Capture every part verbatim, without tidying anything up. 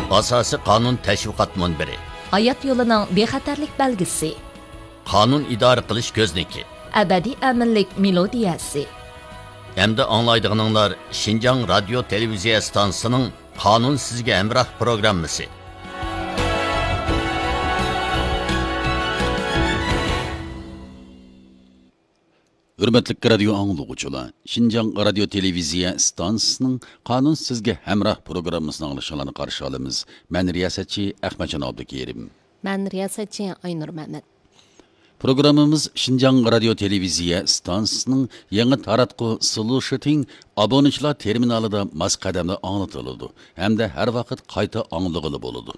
ئاساسىي قانۇن تەشۋىقات مۇنبىرى. ھايات يولىنىڭ بىخەتەرلىك بەلگىسى. قانۇن ئىدارە قىلىش كۆزنىكى. ئەبەدىي ئەمىنلىك مېلودىيەسى. ئەمدى ئاڭلايدىغىنىڭلار شىنجاڭ رادىيو تېلېۋىزىيە ئىستانسىسىنىڭ قانۇن سىزگە ھەمراھ پروگراممىسى. ھۆرمەتلىك رادىيو ئاڭلىغۇچىلار، شىنجاڭ رادىيو تېلېۋىزىيە ئىستانسىسىنىڭ قانۇن سىزگە ھەمراھ پروگراممىسىنى ئاڭلىشىڭلارنى قارشى ئالىمىز. مەن رىياسەتچى ئەخمەتجان ئابدۇكېرىم. مەن رىياسەتچى ئاينۇر مەمەت. پروگراممىمىز شىنجاڭ رادىيو تېلېۋىزىيە ئىستانسىسىنىڭ يېڭى تاراتقۇ سلۇشىتىڭ ئابۇنىچىلار تېرمىنالىدا ماس قەدەمدە ئاڭلىتىلىدۇ ھەمدە ھەر ۋاقىت قايتا ئاڭلىغىلى بولىدۇ.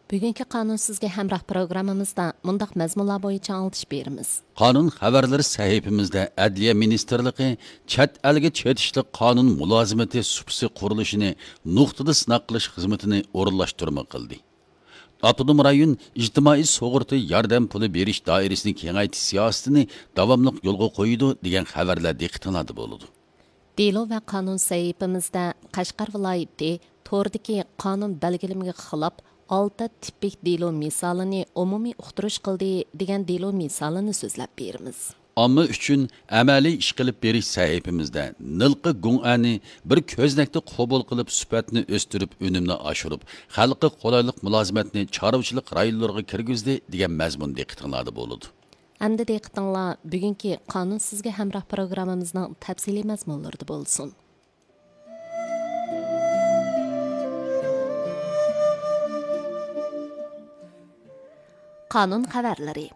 بۈگۈنكى قانۇن سىزگە ھەمراھ پروگراممىمىزدا مۇنداق مەزمۇنلار بويىچە ئاڭلىتىش بېرىمىز. قانۇن خەۋەرلىرى سەھىپىمىزدە ئەدلىيە مىنىستىرلىقى چەت ئەلگە چېتىشلىق قانۇن مۇلازىمىتى سۇپىسى قۇرۇلۇشىنى نۇقتىدا سىناق قىلىش خىزمىتىنى ئورۇنلاشتۇرما قىلدى. ئاپتونوم رايون ئىجتىمائىي سۇغۇرتا ياردەم پۇلى بېرىش دائىرىسىنى كېڭەيتىش سىياسىتىنى داۋاملىق يولغا قويىدۇ، دېگەن خەۋەرلەر دىققىتىڭلاردا بولىدۇ. دېلو ۋە قانۇن سەھىپىمىزدە قەشقەر ۋىلايىتى توردىكى قانۇن بەلگىلىمىگە خىلاپ ئالتە تىپىك دېلو مىسالىنى ئومۇمىي ئۇقتۇرۇش قىلدى، دېگەن دېلو مىسالىنى سۆزلەپ بېرىمىز. ئامما ئۈچۈن ئەمەلىي ئىش قىلىپ بېرىش سەھىپىمىزدە نىلقا گۇڭئەنى بىر كۆزنەكتە قوبۇل قىلىپ، سۈپەتنى ئۆستۈرۈپ، ئۈنۈمنى ئاشۇرۇپ، خەلققە قولايلىق مۇلازىمەتنى چارۋىچىلىق رايونلىرىغا كىرگۈزدى، دېگەن مەزمۇن دىققىتىڭلاردا بولىدۇ. ئەمدى دىققىتىڭلار بۈگۈنكى قانۇن سىزگە ھەمراھ پروگراممىمىزنىڭ تەپسىلىي مەزمۇنلىرىدا بولسۇن. قانۇن خەۋەرلىرى.